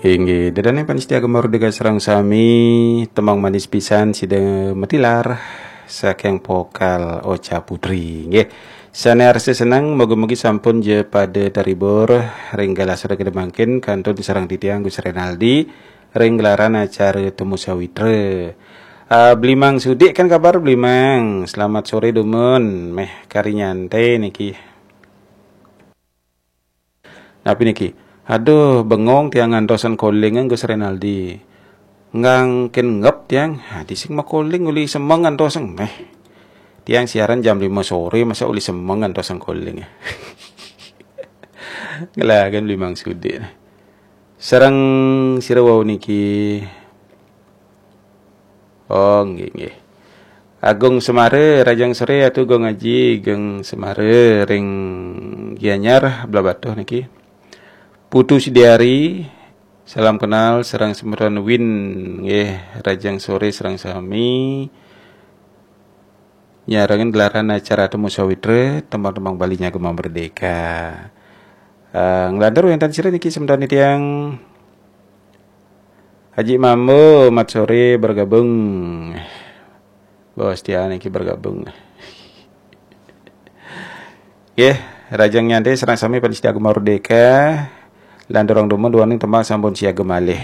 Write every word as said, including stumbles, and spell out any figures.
Inggih, ida dané pamiarsa Gema Merdeka sareng sami, tembang manis pisan sida matilar saking vokal Ocha Putri. Nggih. Sané arsa seneng, mugi-mugi sampun ja pada terhibur ring galah sore kedemangkin kantun sareng titiang Gus Renaldi ring gelaran acara Temu Sawitra. Ah, Blimang Sudik kan kabar Blimang. Selamat sore dumun, méh kari nyantai niki. Napi niki? Aduh, bengong tiang ngantosan calling Gus Renaldi. Ngangkin ngep tiang, ha, dising makoling uli semeng ngantosan méh. Tiang siaran jam lima sore, masa uli semeng ngantosan calling. Ngelagan Blimang Sudik. Sareng sira wau niki. Oh, nggih, nggih. Agung Semara, rahajeng sore, Atu Gung Aji, Gung Semara, ring Gianyar, Blahbatuh niki. Putu Sidiari, salam kenal, sareng semeton Win, nggih, rahajeng sore, sareng sami. Nyarengin gelaran acara Temu Sawitra, tembang-tembang Bali nya Gema Merdeka. Eh, nglantur wénten sira niki semeton tiang. Haji Mambo, mat sore bergabung. Bos Tia niki bergabung. Nggih, rahajeng nyantai sareng sami pamiarsa Gema Merdeka. Lanturang dumun duaning tembang sampun siaga malih.